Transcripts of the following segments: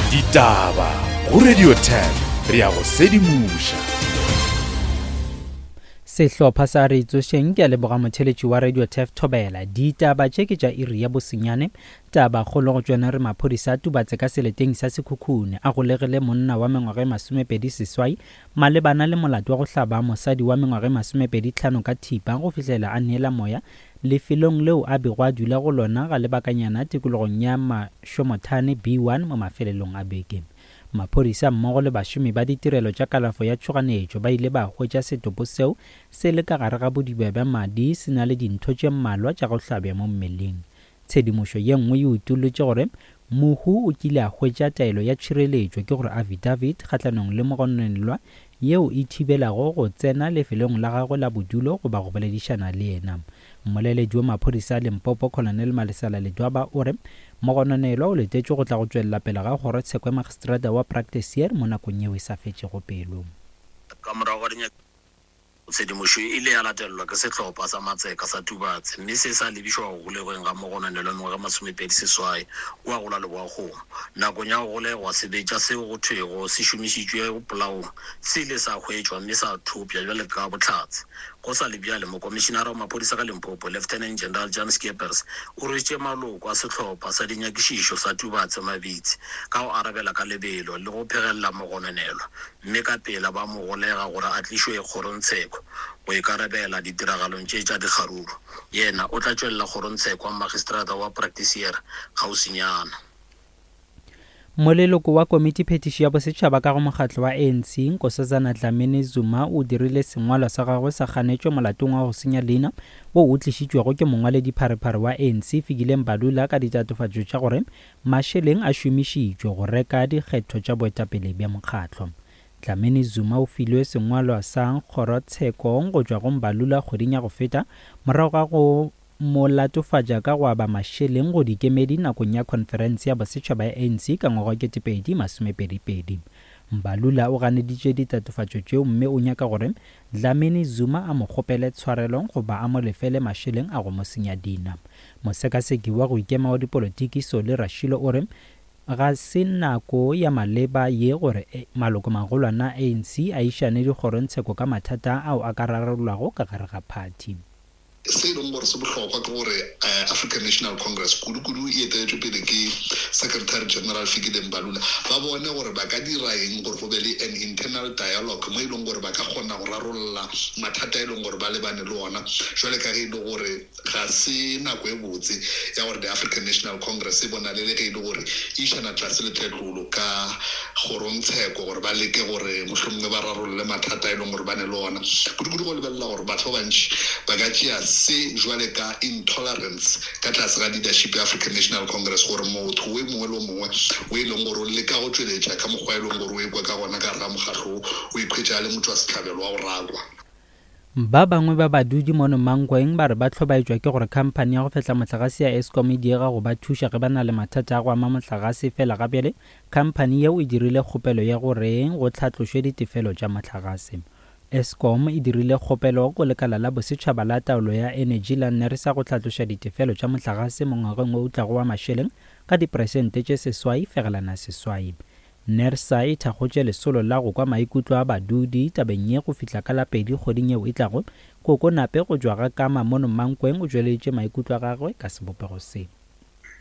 Ditaba go Radio 10 re ya go sedimoša. Sehlopha sa Re Tsošeng ke a leboga motheletši wa Radio Tef Thobela. Ditaba tše ke tša iri ya bosenyane. Taba kgolo go tšona re maphodisa a Tubatse ka seleteng sa Sekhukhune a golegile monna wa mengwaga e 28 malebana le molato wa go hlaba mosadi wa mengwaga e 25 ka thipa go fihlela a neela moya lefelong leo a bego a dula go lona ga lebakanyana tikologong ya Mashomothane B1 mo mafelelong a beke. Maphodisa mmogo le bašomi ba ditirelo tša kalafo ya tšhoganetšo ba ile ba hwetša setopo seo se le ka gare ga bodiba bja madi se na le dintho tše mmalwa tša go hlabja mo mmeleng. Tshedimošo ye nngwe e utollotše gore mohu o kile a hwetša taelo ya tšhireletšo, ke gore affidavit, kgahlanong le mogononelwa yeo e thibelago go tsena lefelong la gagwe la bodulo goba go boledišana le yena. Mmoleledi wa maphodisa a Limpopo, Colonel Malesela Ledwaba o re mogononelwa o letetšwe go tla go tšwelela pele ga kgorotsheko ya magistrata wa Praktiseer mo nakong yeo e sa fetšego pelo. Ka morago ga dinyakišišo, Tshedimošo e ile ya latelelwa ke sehlopha sa matseka sa Tubatse mme se sa lebišwa go golegweng ga mogononelwa mengwaga e 28 kua go la Leboakgomo. Nakong ya go golegwa, sebetša seo go thwego se šomišitšwe polaong se ile sa hwetšwa mme sa thopša bjale ka bohlatse. Go sa le bjale, Mokomišinara wa Maphodisa ka Limpopo, Lieutenant General Jan Scheepers, o rwešitše maloko a sehlopha sa dinyakišišo sa Tubatse mabitsi ka go arabela ka lebelo le go phegelela mogononelwa mme ka pela ba mo golega gore a tlišwe kgorongtsheko go ikarabela ditiragalong tše tša dikgaruru. Yena o tla tšwelela kgorongtsheko ya magistrata wa Praktiseer kgauswinyana. Moleloko wa Komitiphethiši ya Bosetšhaba ka go mokgatlo wa ANC, Nkosazana Dlamini Zuma o dirile sengwalwa sa gagwe sa kganetšo molatong wa go senya leina wo o tlišitšwego ke mongwaledipharephare wa ANC Fikile Mbalula ka ditatofatšo tša gore Mašeleng a šomišitšwe go reka dikgetho tša boetapele bja mokgatlo. Dlamini Zuma o filwe sengwalwa sa kgorotsheko go tšwa go Mbalula kgweding ya go feta morago ga go mo latofatša ka go aba mašeleng go dikemedi nakong ya khonferense ya bosetšhaba ya ANC ka ngwaga wa 2022. Mbalula o ganeditše ditatofatšo tšeo mme o nyaka gore Dlamini Zuma a mo kgopele tshwarelo goba a mo lefele mašeleng a go mo senya dina. Mosekaseki wa go ikema wa dipolotiki Solly Rashilo o re ga se nako ya maleba ye gore malokomagolwana a ANC a išane dikgorongtsheko ka mathata ao a ka rarollwago ka gare ga phathi. Se e leng gore se bohlokwa ke gore African National Congress, kudu-kudu e eteletšwe pele ke Secretary General Fikile Mbalula, ba bone gore ba ka dira eng gore go be le an internal dialogue mo e leng gore ba ka kgona go rarolla mathata a e leng gore ba lebane le ona jwale ka ge e le gore ga se nako e botse ya gore the African National Congress e bonale le ge e le gore e išana tlase le tletlolo ka kgorongtsheko gore ba leke gore mohlomongwe ba rarolle mathata a e leng gore ba ne le ona, kudu-kudu go lebelela gore batho ba bantši ba ka tšea se jwale ka intolerance ka tlase ga leadership ya African National Congress gore motho we mongwe le o mongwe o e leng gore o leka go tšweletša ka mokgwa e leng gore o ekwa ka gona ka gare ga mokgahlo wo, o ikhwetša a le motšwasehlabelo wa go rakwa. Ba bangwe ba badudi mono Mankweng ba re ba hlobaetšwa ke gore khamphani ya go fehla mohlagase ya Eskom e diega go ba thuša ge ba na le mathata a go ama mohlagase fela gabjale khamphani yeo e dirile kgopelo ya gore go hlatlošwe ditefelo tša mohlagase. Eskom e dirile kgopelo go lekala la bosetšhaba la taolo ya enetši la NERSA go hlatloša ditefelo tša mohlagase mo ngwageng wo o tlago wa mašeleng ka diperesente tše 8.8. NERSA e thakgotše lesolo la go kwa maikutlo a badudi tabeng ye go fihla ka la pedi kgweding yeo e tlago. Koko Nape go tšwa ga Kama mono Mankweng o tšweleditše maikutlo a gagwe ka sebopego se.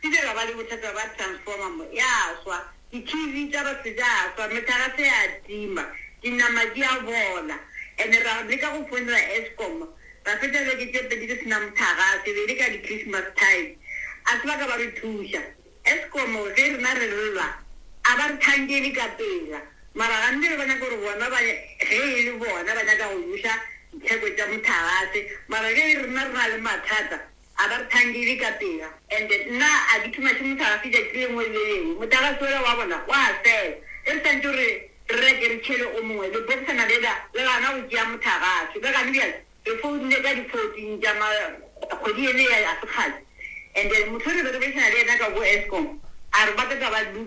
Ke ile ra ba le bothata ba transformer mo, ya swa, di-TV tša batho tša swa, mehlagase ya tima, dinama di a bola. And ra leka go founela Eskom, ra fetša beke tše pedi re se na mohlagase, e be e le ka di-Christmas time. A se ba ka ba re thuša. Eskom ge rena re lla a ba re thankele ka pela mara gantši ba nyaka gore bona ba ge e le bona ba nyaka go buša ditheko tša mothagase mara ge rena re na le mathata a ba re thankele ka pela. And nna a ke thumaše mothagase tšatši le lengwe le le lengwe mothagase wola wa bona wa fela ge re swantše gore re reke re tšhele o mongwe lebokosana lela le gana go tšea mothagase le gane bjale Re founile ka di 14 tša ma kgwedi ene ya ya sekgale and then motho re be re boledišana le yena ka ko Eskom a re ba tla tla ba.